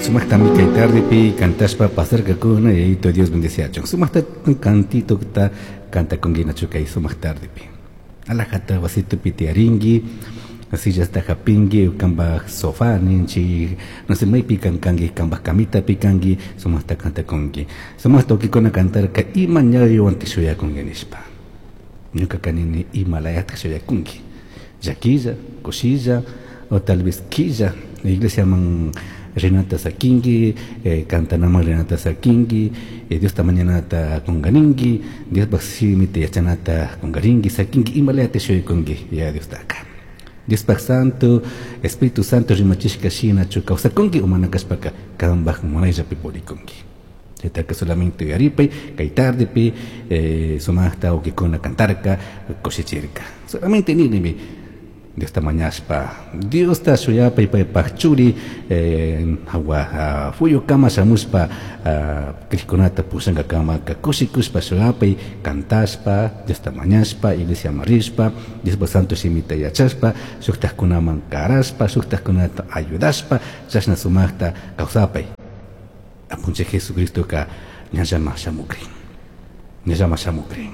Sumaqtami kay tardepi cantashpa pasarkakuna, Yayito Dios bendeciachun. Sumaqta cantitota cantakunkinachu kay sumaq tardepi. Alajata wasitupi tiyarinki, sillasta hapinki, kanpaj sofá ninchik, no sé maypi kankanki, kanpaj camitapi kanki, sumaqta cantakunki. Sumaqta wawkikuna cantarka ima ñawiwantik shuyakunki nishpa. Ñuka nini ima layatak shuyakunki. Llaquilla, kushilla, o tal vez quilla, iglesiaman rinata sakinki, cantanaman rinata sakinki, Diosta mañanata kungarinki, Diospaj shimita yachanata kungarinki, sakinki, ima layata shuyakunki, ya Diostaka. Diospaj Santo, Espíritu Santo rimachishka shinachu kawsakunki o mana kashpaka kanpaj munayllapi purikunki. Chaytaka solamente uyaripay, kay tardepi sumaqta wawkikuna cantarka, kushichirka. Solamente ninimi Diosta mañashpa, Diosta shuyapay paypaj churi hawa fuyukama shamushpa crikkunata pushankakamaka kushikushpa shuyapay, cantashpa, Diosta mañashpa, iglesiaman rishpa, Diospaj Santo shimita yachashpa, shuktajkunaman karashpa, shuktajkunata ayudashpa, chashna sumaqta kawsapay. Apunchik Jesucristoka ñallama shamukrin, ñallama shamukrin.